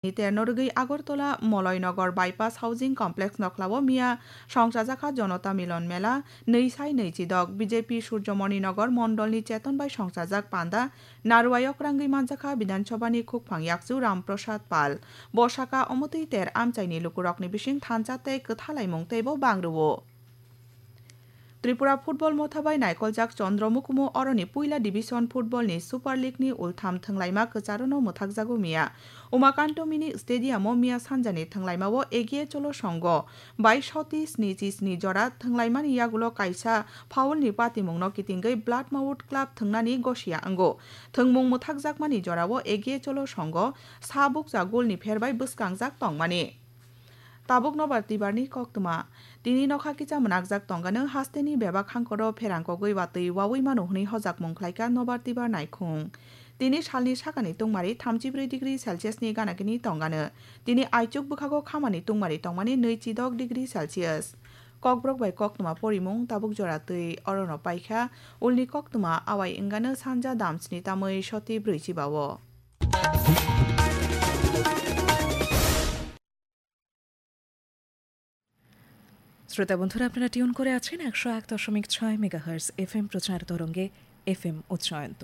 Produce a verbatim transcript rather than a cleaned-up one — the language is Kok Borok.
Ni terno rwgwi Agartala Moloynagar Bypass Housing Complex nokhlao miya songchajakha Janata Milon Mela nwi sai nwi chidok. B J P Surjomoni Nagar mondolni cheton bai songchajak panda narwai okrangwi manjakha Bidhan Sabhani khukphang yakchu Ram Prasad Pal. Bo saka omotwi ter amchaini lukurokni bising thansa tei kwthalaimung teibo bang rwo. Tripura Football Motha bai naikoljak Chandra Mukumu oroni puila division football ni Super League ni ultham thwnglaima kwcharono mwthakjago miya. Umakanto Mini Stadium o miya sanjani thwnglaima o Egiye Cholo Songho bai soti snichi sni jora thwnglaimani yagulo kaisa foul ni patimung no kitingwi Blood Mouth Club thwngnani gosia wngo. Thwngmung mwthakjakmani jora o Egiye Cholo Songho sa bukcha goal ni pher bai bwskangjak tongmani. Tabuk nobar tibar ni koktwma. Tini nokha kicha mwnakjak tongano hasteni bebak hangkoro pherang kogwi watwi wawi mano hwnwi hojakmung khlaikha nobar tibar naikhung. Tini salni sakani tungmari thamchibrwi degree Celsius ni ganakini tongano. Tini aichuk bwkhago khamani tungmari tongmani nwi chidok degree Celsius. Kokborok bai koktwma porimung tabuk jora twi orono paikha, ulni koktwma awai wngano sanja damsni tamwi soti brwi chibao. শ্রোতা বন্ধুরা, আপনারা টিউন করে আছেন একশো এক দশমিক ছয় megahertz FM প্রচার তরঙ্গে এফএম উচ্চায়ন্ত।